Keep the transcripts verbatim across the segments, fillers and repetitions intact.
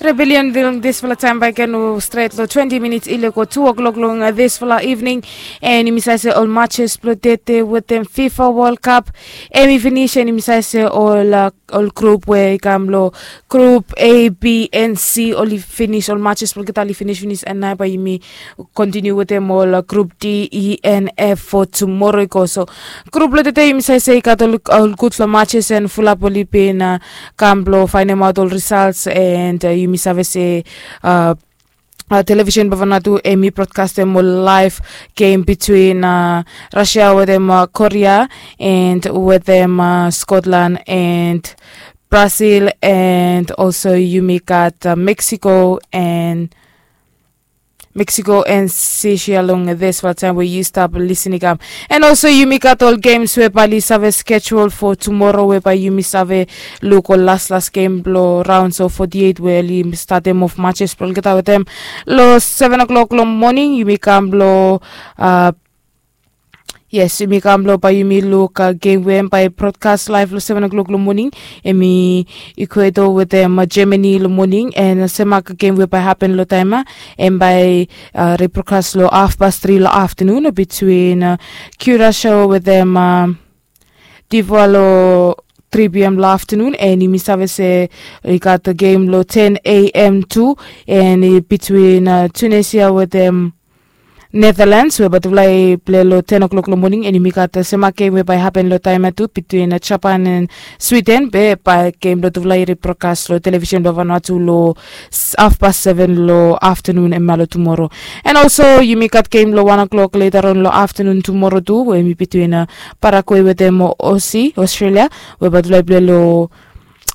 Rebellion long disfala taem bae ken stret long twenti minits i lego tu o'klok long disfala evening. And yumi save se ol matches blong tete wetem fifa world cup em i finis, and yumi save se ol ol grup we i kam long grup a b and c oli finis, ol matches blong olgeta oli finis finis, and nao bae yumi kontiniu wetem ol grup d e and f fo tumoro i go. So grup blong tete yumi save se i gat ol gudfala matches and fulap oli bin kam blong faenemaot ol risalts, and yumi save se television blong vanatu em i brodkastem ol laef gem bitwin rasia wetem korea and wetem skotlan and brasil, and olso yumi gat meksiko and meksiko and sisia long disfala taem we yu stap lisin i kam. And olso yumi gat ol gems we bae oli save skejul fo tumoro we bae yumi save luk ol laslas gem blong raon so foti eit we oli statem of matches blong olgeta wetem long seven o'klok long moning yumi kam blong yes, yumi kam blong bae yumi luk gem we em bae brodkas laef long seven o'klok long moning. Em i ikueto wetem germany long moning, and semak gem we bae hapen long taem ya em bae rebrokas long hafpas tri long aftanun bitwin kiurasho wetem divoa long tri p m long aftanun, and yumi save se i gat gem long ten a m tu, and bitwin tunesia wetem netherlands we bae tufala i pilai long ten o'klok long moning, and yumi gat sema gem we bae hapen long taem ya tu bitwin japan and sweden be bae gem blong tufala i rebrokas long television blong vanua tu long hafpas seven long aftanun em ya long tumoro. And olso yumi gat gem long wan o'klok letaron long aftanun tumoro tu we em i bitwin parague wetem osi australia we bae tufala i pilai long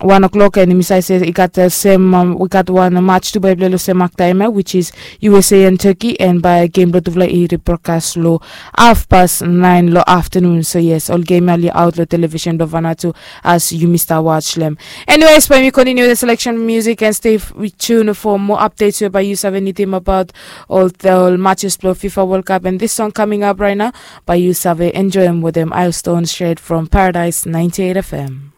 wan o'klok, and yumi save se i gat sem i gat wan match tu bae i pilai long semak taem ya, which is usa and turkey, and bae gem blong tufala i rebrokas long hafpas naen long aftanun. So yes, ol gem ya oli aot long television blong vanua tu as yumi stap watch long em. Anyways, bae yumi kontiniu the selection music and stay tune for more updates we bae yu save nidim abaot ol matches blong fifa world cup, and this song coming up right now bae yu save enjoem wetem ilestone straight from paradise ninety eight fm.